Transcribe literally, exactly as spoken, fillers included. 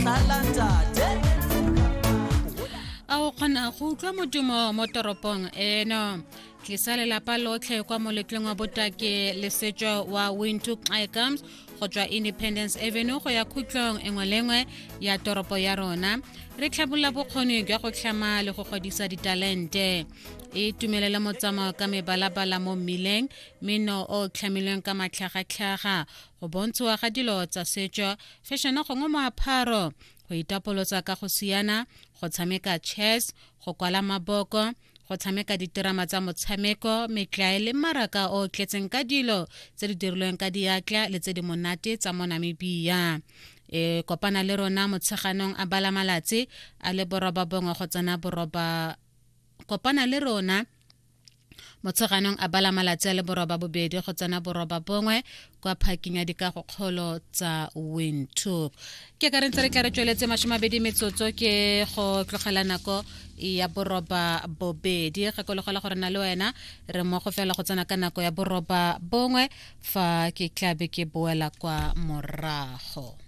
Motlhala ntate. A o kgona go utlwa modumo mo toropong eno? Tlisa lelapa lotlhe kwa moletlong wa botaki le setso wa Windhoek Xcams go tswa Independence Avenue go ya khutlong engwe le nngwe ya toropo ya rona, re tlhabolola bokgoni jwa go tlhama le go godisa ditalente. E itumelele motsamao ka mebalabala mo mmileng, mmino o tlhamilweng ka matlhagatlhaga, go bontshiwa ga dilo tsa setso, fashion gongwe moaparo, go itapolosa ka go siana, go tshameka chess, go kwala maboko, go tshameka diterama tsa motshameko, metlae le mmaraka o tletseng ka dilo tse di dirilweng ka diatla le tse di monate tsa mo Namibia. E kopana le rona motsheganong a bala malatsi a le boroba bongwe go tsena boroba. Kopana le rona motsheganong a bala malatsi a le boroba bobedi go tsena boroba bongwe kwa parking ya dikagokgolo tsa Windhoek. Ke ka re ntse re tla re tsweletse masomabedi metsotso ke go tlogela nako ya boroba bobedi. Gakologela gore na le wena re mmogo fela go tsena ka nako ya boroba bongwe fa ke tlabe ke boela kwa morago.